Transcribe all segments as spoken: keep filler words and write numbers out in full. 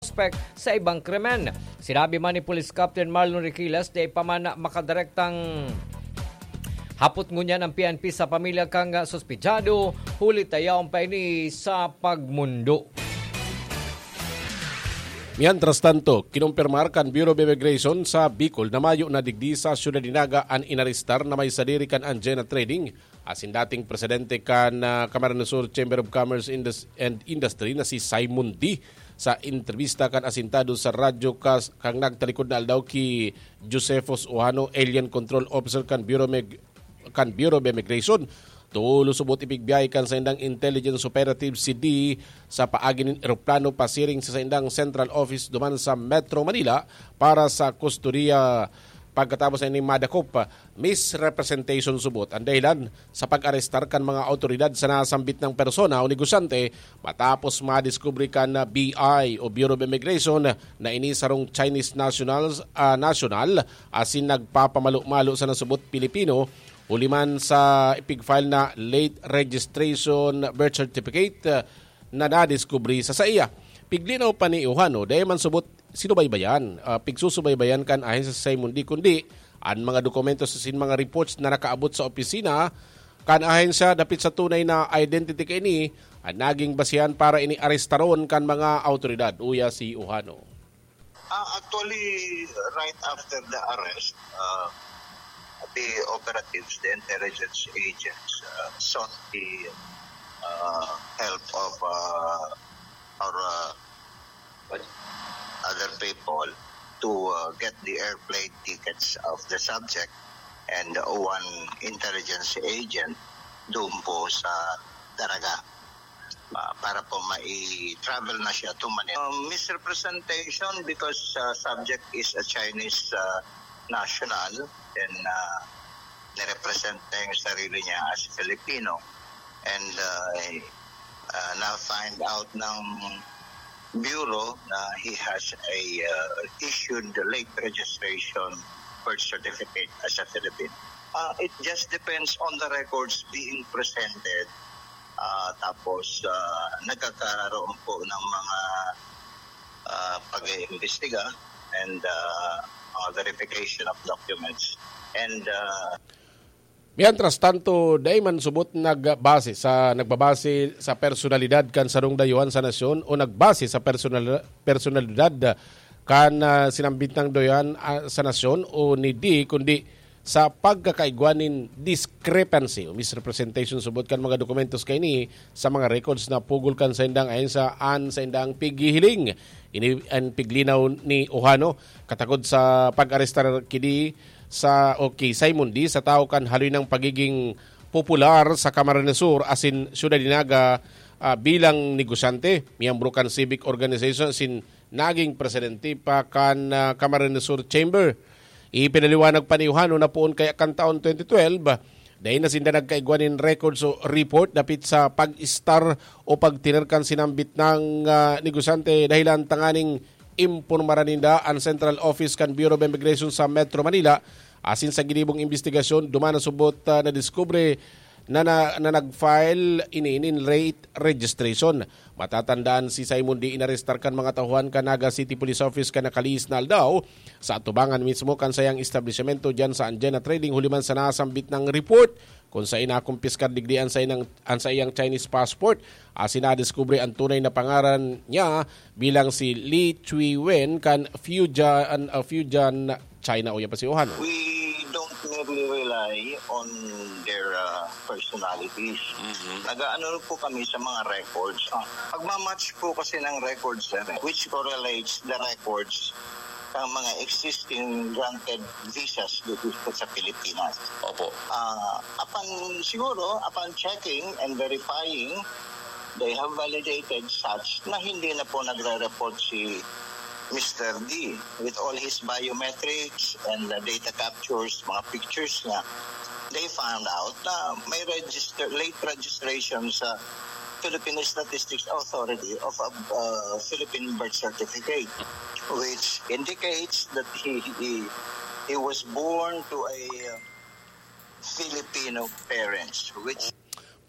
suspek sa ibang krimen. Sinabi man ni Police Captain Marlon Riquilas, dai pa man makadirektang hapot ngunyan ang P N P sa pamilya kan suspechado, huli ta yaon pa ini sa pagmundo. Mientras tanto, kinumpirmar kan Bureau of Immigration sa Bicol na mayo na digdi sa Ciudad de Naga an inarestar na may sadiri kan Anjena Trading asin dating presidente kan, ah, Camarines Sur Chamber of Commerce Indus-, and Industry na si Simon D. Sa entrebista kan asintado sa radyo kas-, kan nagtalikod na aldaw ki Josephus Ohano, Alien Control Officer kan Bureau Meg-, kan Bureau of Immigration, tolos subot ipigbiyahe kan saindang intelligence operative si D sa paagi nin eroplano pasiring sa saindang central office duman sa Metro Manila para sa kustodiya. Pagkatapos na ini madakop, misrepresentation subot ang dahilan sa pag-arestar kan mga awtoridad sa nasambit nang persona o negosyante matapos madiskubre kan B I o Bureau of Immigration na ini sarong Chinese nationals, ah, national asin nagpapamalo-malo sa nasubot Pilipino huli man sa ipig-file na late registration birth certificate, ah, na nadiskubre sa saiya. Piglinaw pa ni Ohano, dai man subot sinubaybayan, ah, pigsusubaybayan kan ahensya si Simon D, kundi an mga dokumento asin mga reports na nakaabot sa opisina kan ahensya dapit sa tunay na identity kaini an naging basehan para ini arestaron kan mga awtoridad, uya si Ohano. Ah, actually, right after the arrest, uh, the operatives, the intelligence agents, uh, sought the, uh, help of, uh, our, uh, other people to, uh, get the airplane tickets of the subject and one intelligence agent doon po sa Daraga, ah, para po mai-travel na siya to Manila. Um, misrepresentation because, uh, subject is a Chinese, uh, national, and, uh, nirepresent niya yung sarili niya as Filipino. And, uh, uh, na-find out ng Bureau na he has a, uh, issued late registration birth certificate as a Filipino. Uh, it just depends on the records being presented. Ah, tapos, ah, nagkakaroon po ng mga, ah, pag-iimbestiga and, ah, mga verification of documents. And, ah, Mientras tanto, dai man subot nagbase sa, nagbabase sa personalidad kan sarong dayuhan sa nasyon o nagbase sa personal-, personalidad kan, ah, sinambit nang dayuhan, ah, sa nasyon o ni D, kundi sa pagkakaigwa nin discrepancy o misrepresentation subot kan mga dokumentos kaini sa mga records na pugol kan saindang ahensya an saindang pighihiling. Ini an piglinaw ni Ohano katakod sa pag-arestar ki D sa, o ki Simon D, sa tawo kan haloy nang pagiging popular sa Camarines Sur asin Ciudad de Naga, ah, bilang negosyante, miyembro kan civic organization asin naging presidente pa kan, ah, Camarines Sur Chamber. Ipinaliwanag pa ni Johano na poon kaya kan taon twenty twelve, dai na sinda nagkaigwa nin records o report dapit sa pag-istar o pagtener kan sinambit nang, ah, negosyante dahilan tanganing impormaran ninda an Central Office kan Bureau of Immigration sa Metro Manila asin sa ginibong imbestigasyon duman na subot, ah, nadiskubre na, na, na nag-file ini nin late registration. Matatandaan si Simon D inarestar kan mga tauhan kan Naga City Police Office kan nakalihis na aldaw sa atubangan mismo kan sayang establisimento diyan sa Anjena Trading huli man sa nasambit nang report kung sa inakumpiskar digdi an sainang, an saiyang Chinese passport. Asin nadiskubre an tunay na pangaran niya bilang si Li Chui Wen kan Fujian, uh, Fujian, China. Uya pa si Ohan. We don't merely rely on their, uh, personalities. Mhm. Nag-aano po kami sa mga records. Ah, pagmamatch po kasi ng records, sir, eh, which correlates the records ng mga existing granted visas dito sa Pilipinas. Opo. Ah, upon, siguro, upon checking and verifying, they have validated such na hindi na po nagre-report si Mister D with all his biometrics and the data captures, mga pictures niya. They found out na may register, late registration sa Philippine Statistics Authority of a, uh, Philippine birth certificate, which indicates that he, he, he was born to a, uh, Filipino parents, which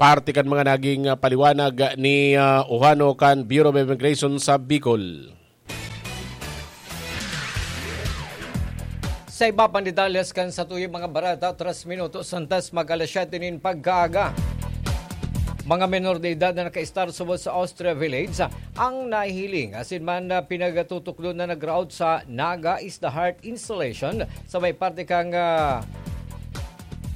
Parte kan mga naging, ah, paliwanag ni, ah, Ohano kan Bureau of Immigration sa Bicol. Sa iba pang detalles kan satuyang mga bareta, tres minutos antes mag alas siyete nin pagkaaga. Mga menor de edad na nakaistar subot sa Austria Village ang nahihiling asin man na pinagtutukdo na nagraot sa Naga is the Heart installation sa may parte kang, ah,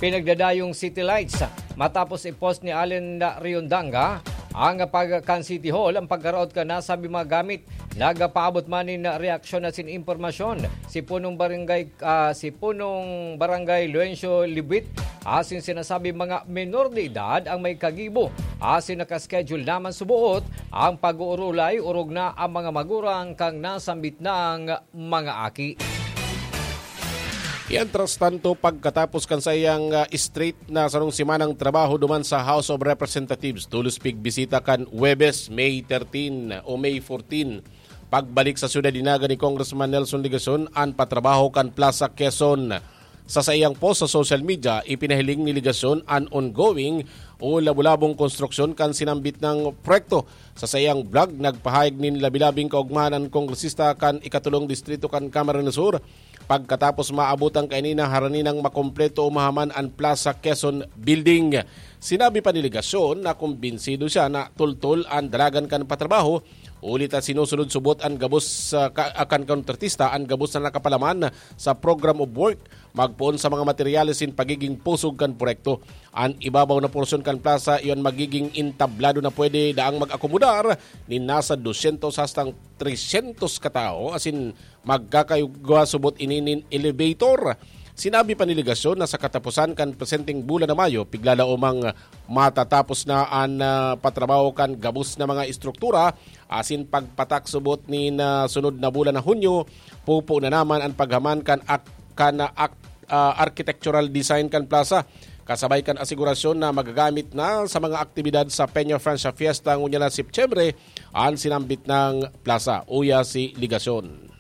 pinagdadayong City Lights. Matapos i-post ni Allen Riondanga ang pag-, kan City Hall ang pagkaraot kan nasabing mga gamit, nagpaabot man nin reaksyon asin impormasyon si punong barangay, ah, si punong barangay Luencio Libit asin sinasabi mga menor de edad ang may kagibo asin naka-schedule naman suboot ang pag-uurulay orog na ang mga magurang kan nasambit nang mga aki. Mientras tanto, pagkatapos kan saiyang, ah, straight na sarong semanang trabaho duman sa House of Representatives, tolos pigbisita kan Huwebes, May thirteen o May fourteen, pagbalik sa syudad ni Naga ni Congressman Nelson Legacion an patrabaho kan Plaza Quezon. Sa saiyang post sa social media, ipinahiling ni Legacion an ongoing o labo-labong konstruksyon kan sinambit na proyekto. Sa saiyang blog, nagpahayag nin labi-labing kaogmahan an kongresista kan ikatulong distrito kan Camarines Sur, pagkatapos maabot ang kaini na harani nang makompleto o mahaman an Plaza Quezon Building. Sinabi pa ni Legacion na kumbinsido siya na tultol an dalagan kan patrabaho, huli ta sinusunod subot an gabos sa ka-, kan kontratista an gabos na nakapalaman sa program of work, magpoon sa mga materyales sin pagiging pusog kan proyekto. An ibabaw na porsyon kan plaza, iyon magiging entablado na pwede daang mag-akomodar nin nasa dosyentos hastang tresyentos ka tawo, asin magkakaigwa subot ini nin elevator. Sinabi pa ni Legacion na sa kataposan kan presenteng bulan na Mayo, piglalaomang matatapos na an, ah, patrabaho kan gabos na mga estruktura, asin pagpatak subot nin, ah, sunod na bulan na Hunyo, pupo na naman an paghaman kan ak-, kan, ah, ak-, ah, architectural design kan plaza, kasabay kan asigurasyon na magagamit na sa mga aktibidad sa Peña Francia Fiesta ngunyan na Setyembre an sinambit na plaza. Uya si Legacion.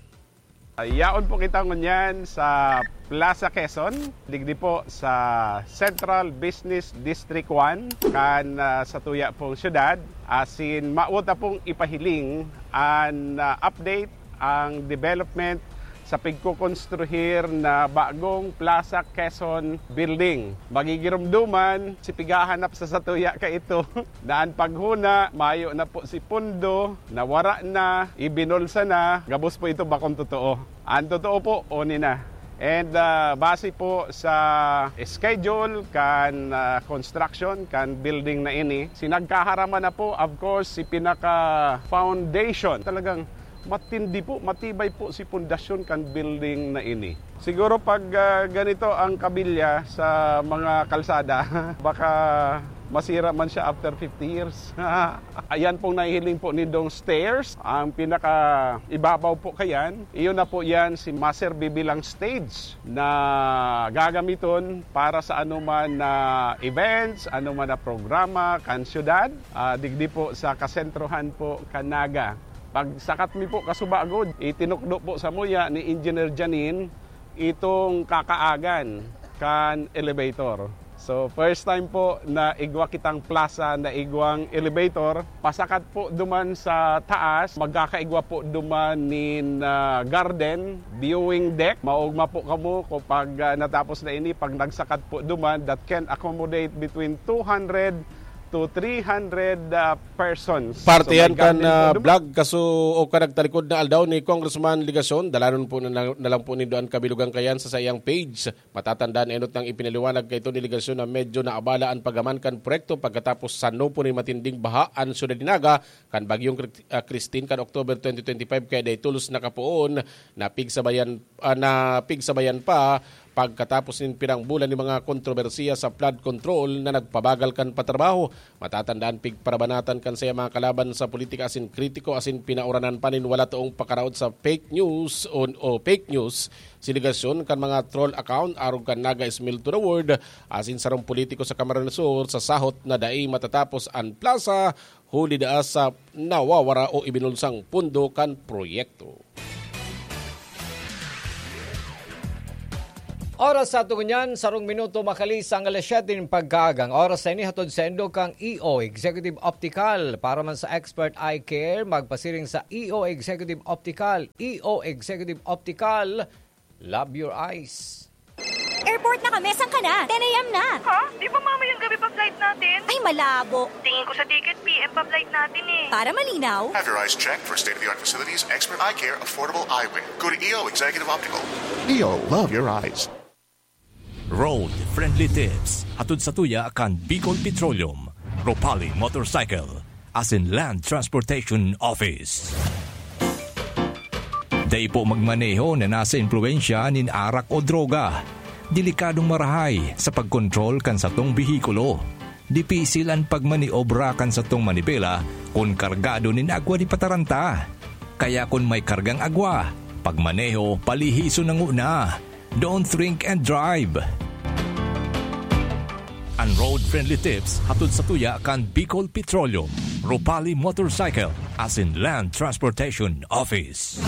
Yaon po kita ngunyan sa Plaza Quezon, digdi po sa Central Business District one, kan, ah, sa tuya pong syudad. Asin, mawot ta pong ipahiling an, ah, update, ang development sa pigkokonstruhir na bagong Plaza Quezon Building. Magigiromdoman si pighahanap sa satuya kaito na an paghona, mayo na po si pondo, nawara na, ibinulsa na, gabos po ito bakong totoo. An totoo po, oni na. And, ah, base po sa schedule kan, ah, construction kan building na ini, sinagkaharaman na po, of course, si pinaka foundation. Talagang matindi po, matibay po si pundasyon kan building na ini. Siguro pag, ah, ganito ang kabilya sa mga kalsada, baka masira man siya after fifty years. Ayan pong nahihiling po nindong stairs. Ang pinaka ibabaw po kayan, iyon na po yan si maserbi bilang stage na gagamiton para sa anuman na events, anuman na programa kan syudad, ah, digdi po sa kasentrohan po kan Naga. Pagsakat mi po kasubago, itinukdo po samuya ni Engineer Janine itong kakaagan kan elevator. So, first time po na igwa kitang plaza na igwang elevator. Pasakat po duman sa taas, magkakaigwa po duman nin, ah, garden, viewing deck. Maogma po kamo kung pag, ah, natapos na ini, pag nagsakat po duman, that can accommodate between two hundred to three hundred, ah, persons. Parte So, may yan kan, garden po ah, duman. Vlog kaso o kan nagtalikod na aldaw ni Congressman Legacion. Dalanon po na, na lang po nindo an kabilugan kayan sa saiyang page. Matatandaan, enot nang ipinaliwanag kaito ni Legacion na medyo naabala an paghaman kan proyekto pagkatapos sano po nin matinding baha an syudad ni Naga kan Bagyong Cri-, ah, Christine kan October twenty twenty-five, kaya dai tolos nakapoon na pigsabayan, ah, na pigsabayan pa pagkatapos nin pirang bulan nin mga kontrobersiya sa flood control na nagpabagal kan patrabaho. Matatandaan, pigparabanatan kan saya mga kalaban sa politika asin kritiko asin pinauranan pa nin wala toong pakaraot sa fake news o, o fake news si Legacion kan mga troll account arog kan Naga Smell to the World asin sarong politiko sa Camarines Sur sa sahot na dai matatapos an plaza huli daa sa nawawara o ibinulsang pondo kan proyekto. Oras sa aton ngunyan, sarong minuto makalisang alas siyete nin pagkaaga. Ang oras na ini hatod saindo kan E O Executive Optical. Para man sa Expert Eye Care, magpasiring sa E O Executive Optical. E O Executive Optical, Love your eyes. Airport na kami, saan ka na? ten a.m. na. Ha? Di ba mamayang gabi pa flight natin? Ay, malabo. Tingin ko sa ticket, p.m. pa flight natin eh. Para malinaw. Have your eyes checked for state-of-the-art facilities, expert eye care, affordable eyewear. Go to E O Executive Optical. E O, love your eyes. Road Friendly Tips. Hatod sa tuya kan Bicol Petroleum, Ropali Motorcycle, asin Land Transportation Office. Dai po magmaneho na nasa impluwensya nin arak o droga. Delikadong marahay sa pagkontrol kan satong behikulo. Dipisil an pagmaniobra kan satong manibela kun kargado nin agwa di pataranta. Kaya kun may kargang agwa, pagmaneho palihison na nguna. Don't drink and drive. An Road Friendly Tips hatod sa tuya kan Bicol Petroleum, Ropali Motorcycle, asin Land Transportation Office.